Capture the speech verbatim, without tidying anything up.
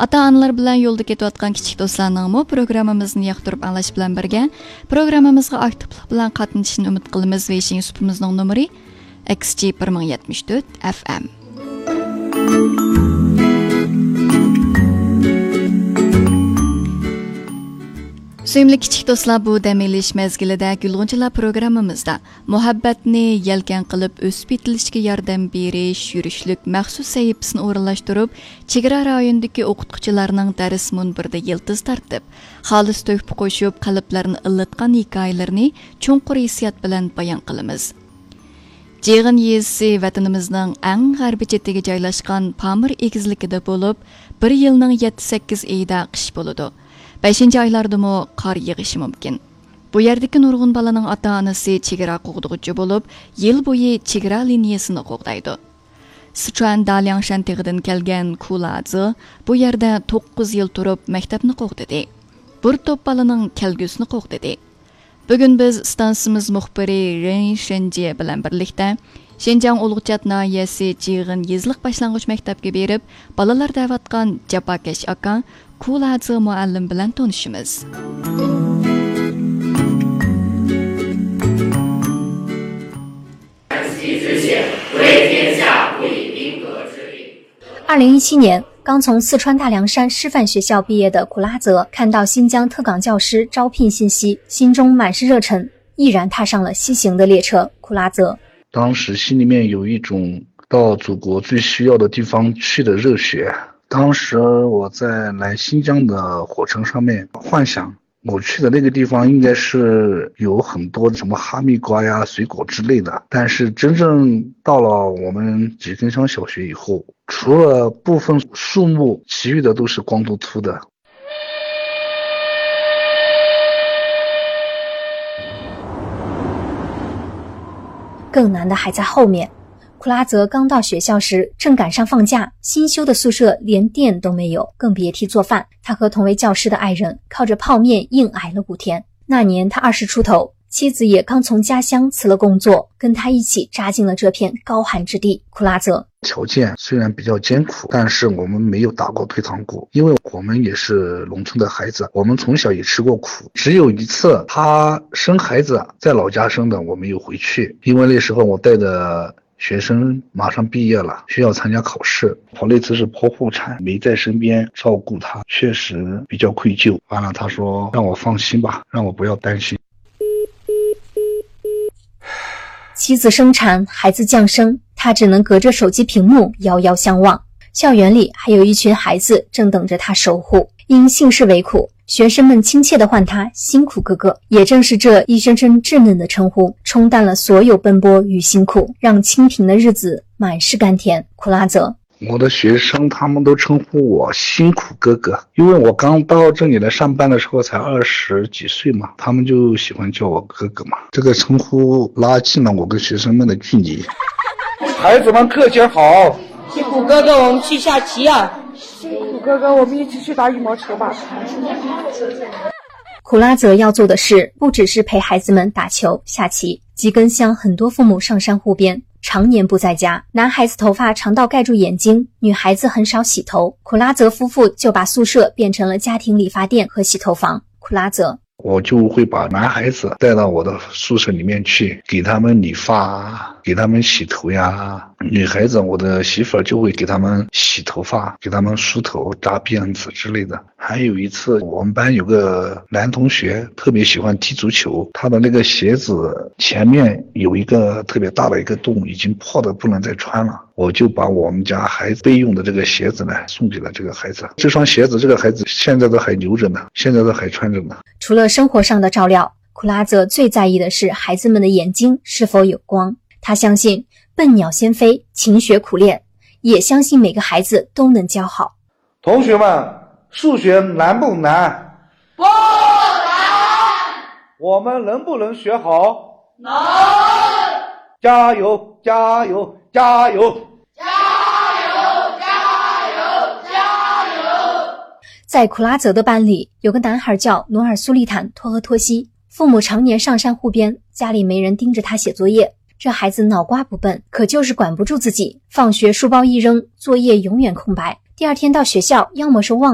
ئاتا-ئانىلار بىلەن يولدا كېتىۋاتقان كىچىك دوستلارنىڭمۇ پروگراممىمىزنى ياقتۇرۇپ ئاڭلاش بىلەن بىرگە، پروگراممىمىزغا ئاكتىپلىق بىلەن قاتنىشىشىنى ئۈمىد قىلىمىز. ۋېيشىڭ سۇپىمىزنىڭ نومۇرى ئېكس جى بىر مىڭ يەتمىش تۆت ئەف ئەم. سۆيۈملۈك كىچىك دوستلار، بۇ دەم ئېلىش مەزگىلىدە گۈلغۇنچىلار پروگراممىمىزدا مۇھەببەتنى يەلكەن قىلىپ ئۆسۈپ يېتىلىشكە ياردەم بېرىش يۈرۈشلۈك مەخسۇس سەھىپىسىنى ئورۇنلاشتۇرۇپ، چېگرا رايونىدىكى ئوقۇتقۇچىلارنىڭ دەرس مۇنبىرىدە يىلتىز تارتىپ، خالىس تۆھپە قوشۇپ، قەلبلەرنى ئىللىتقان ھېكايىلىرىنى چوڭقۇر ھېسسىيات بىلەن بايان قىلىمىز. جىغىن يېزىسى ۋەتىنىمىزنىڭ ئەڭ غەربىي چېتىگە جايلاشقان پامىر ئېگىزلىكىدە بولۇپ، بىر يىلنىڭ يەتتە-سەككىز ئېيىدا قىش بولىدۇ. بەشىنچى ئايلاردىمۇ قار يېغىشى مۇمكىن. بۇ يەردىكى نۇرغۇن بالىنىڭ ئاتا-ئانىسى چېگرا قوغدىغۇچى بولۇپ، يىل بويى چېگرا لىنىيەسىنى قوغدايدۇ. سىچۇەن دالياڭشەن تېغىدىن كەلگەن كۇلازى بۇ يەردە توققۇز يىل تۇرۇپ مەكتەپنى قوغدىدى. بىر توپ بالىنىڭ كەلگۈسىنى قوغدىدى. بۈگۈن بىز ئىستانسىمىز مۇخبىرى رېن شېنجى بىلەن بىرلىكتە شىنجاڭ ئۇلۇغچات ناھىيەسى جىغىن يېزىلىق باشلانغۇچ مەكتەپكە بېرىپ، بالىلار دەۋاتقان جاپاكەش ئاكا كۇلازى مۇئەللىم بىلەن تونۇشىمىز. 二零一七年，刚从四川大凉山师范学校毕业的苦拉泽看到新疆特岗教师招聘信息，心中满是热忱，毅然踏上了西行的列车。苦拉泽，当时心里面有一种到祖国最需要的地方去的热血。当时我在来新疆的火车上面幻想，我去的那个地方应该是有很多什么哈密瓜呀、水果之类的，但是真正到了我们吉根乡小学以后，除了部分树木，其余的都是光秃秃的。更难的还在后面。苦拉则刚到学校时，正赶上放假，新修的宿舍连电都没有，更别提做饭。他和同为教师的爱人靠着泡面硬挨了五天。那年他二十出头，妻子也刚从家乡辞了工作，跟他一起扎进了这片高寒之地。苦拉则条件虽然比较艰苦，但是我们没有打过退堂鼓，因为我们也是农村的孩子，我们从小也吃过苦。只有一次，他生孩子在老家生的，我没有回去，因为那时候我带的学生马上毕业了，需要参加考试。我那次是剖腹产，没在身边照顾他，确实比较愧疚。完了，他说让我放心吧，让我不要担心。妻子生产，孩子降生，他只能隔着手机屏幕遥遥相望。校园里还有一群孩子正等着他守护，因姓氏为苦，学生们亲切地唤他“辛苦哥哥”。也正是这一声声稚嫩的称呼，冲淡了所有奔波与辛苦，让清贫的日子满是甘甜。苦拉则，我的学生他们都称呼我“辛苦哥哥”，因为我刚到这里来上班的时候才二十几岁嘛，他们就喜欢叫我哥哥嘛。这个称呼拉近了我跟学生们的距离。孩子们课间好。辛苦哥哥，我们去下棋啊。辛苦哥哥，我们一起去打羽毛球吧。苦拉则要做的事不只是陪孩子们打球、下棋。吉根乡很多父母上山护边，常年不在家，男孩子头发长到盖住眼睛，女孩子很少洗头。苦拉则夫妇就把宿舍变成了家庭理发店和洗头房。苦拉则，我就会把男孩子带到我的宿舍里面去，给他们理发，给他们洗头呀。女孩子，我的媳妇儿就会给他们洗头发，给他们梳头、扎辫子之类的。还有一次，我们班有个男同学特别喜欢踢足球，他的那个鞋子前面有一个特别大的一个洞，已经破的不能再穿了。我就把我们家孩子备用的这个鞋子呢，送给了这个孩子。这双鞋子，这个孩子现在都还留着呢，现在都还穿着呢。除了生活上的照料，苦拉则最在意的是孩子们的眼睛是否有光。他相信笨鸟先飞，勤学苦练，也相信每个孩子都能教好。同学们，数学难不难？不难。我们能不能学好？能。加油，加油，加油！在苦拉则的班里，有个男孩叫努尔苏利坦托和托西，父母常年上山护边，家里没人盯着他写作业。这孩子脑瓜不笨，可就是管不住自己。放学书包一扔，作业永远空白。第二天到学校，要么是忘。